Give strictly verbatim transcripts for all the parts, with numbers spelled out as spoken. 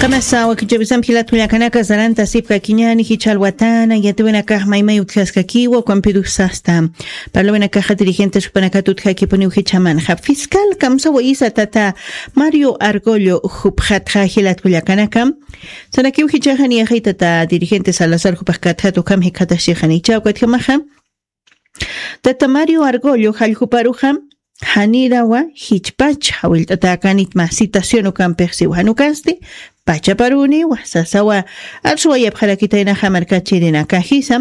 Qamasa wakichapisam jilat kullakanaka saranta sipka kiñani jichal watana yatiwinakax maymay utjaskakiwa ukampirusasta. Parlawinakaxa dirigentes jupanakata utjakipuniw jichamanxa fiscal kamsawayisa tata Mario Argollo jupxatxa jilat kullakanaka. Sanakiw jichaxa niyajay tata dirigente Salazar jupax katjat ukham jikxataxchixanicha ukatjamaxa tata Mario Argollo jalljuparuxa janirawa jichpach jawillt'atäkanit mä citación ukampix siwa janukasti pachaparuniwa sasawa arsuwayapxarakitaynaxa markachirinakajisa.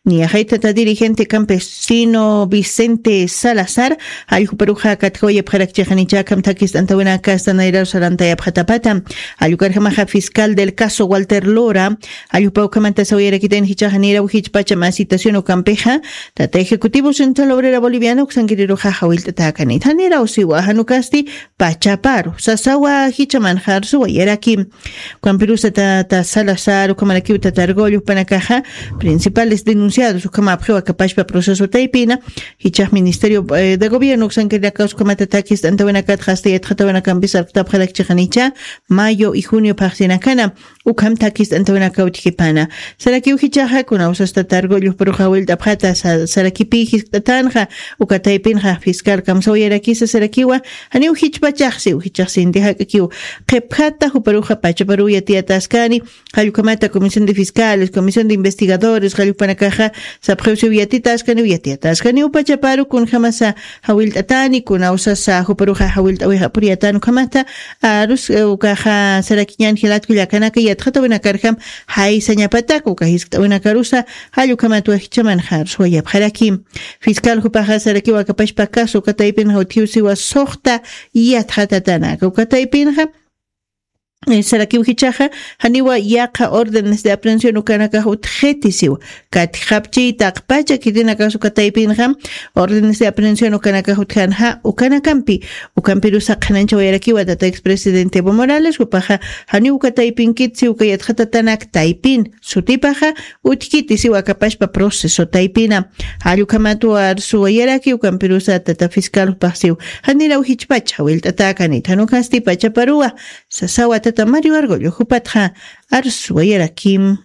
Niyaxay tata dirigente campesino Vicente Salazar jalljuparuxa katjawayapxarakchixanicha akham thakist'antawinakasta nayraru sarantayapxatapata. Jalljukarjamaxa fiscal del caso Walter Lora jalljupa ukhamanta sawayarakitayna jichaxa niraw jichpacha mä citación ukampixa tata ejecutivo central obrera boliviana uksankiriruxa jawillt'atäkanit janiraw siwa janukasti pachaparu sasawa jichamanxa arsuwayaraki. Ukampirusa tata Salazar ukhamarakiw tata Argollo jupanakaxa principales denunciados ukhama apxiw akapashpa proceso taypina jichax ministerio de gobierno uksankirinakaws ukhamata thakist'antawinakatxa asta yatxatawinakampis arktapxarakchixanicha mayo y junio phaxsinakana ukham thakist'antawinakaw utjkipana. Sarakiw jichaxa kuna usasta Argollo juparuxa jawillt'apxata sarakipï jiskt'atanxa uka taypinxa fiscal kamsawayarakisa sarakiwa janiw jichpachaxsiw jichaxsinti jak'akiw qhipjata juparuxa pachaparuw yatiyataskani jallukhamata comisión de fiscales comisión de investigadores jallukpanakaxa sapxiwsiw yatitaskaniw yatiyataskaniw pachaparu kunjamasa jawillt'atani kuna usasa juparuxa jawillt'awix apuriyatan ukhamata arus ukaxa sarakiñan jilat kullakanaka yatxatawinakarjam jaysañapatak uka jiskt'awinakarusa jallukhamat wajchamanxa arsuwayapxaraki. Fiscal jupaxa sarakiw akapashpa caso uka taypinxa utjiw siwa suxta yatxatatanaka uka taypinxa sarakiw jichaxa janiwa yaqha órdenes de aprehensión ukanakax utjiti siwa katjapchi taqpacha kirinakax uka taypinxa órdenes de aprehensión ukanakax utjanxa ukanakampi ukampirusa qhananchawayarakiwa tata expresidente Evo Morales jupaxa janiw uka taypinkit siw uka yatxatatanak taypin sutipaxa utjkiti siw akapashpa proceso taypina jallukhamat arsuwayaraki ukampirusa tata fiscal jupax siw janiraw jichpacha jawillt'atäkanit janukasti pachaparuwa sasawa tata Mario Argollo jupatxa arsuwayarakim.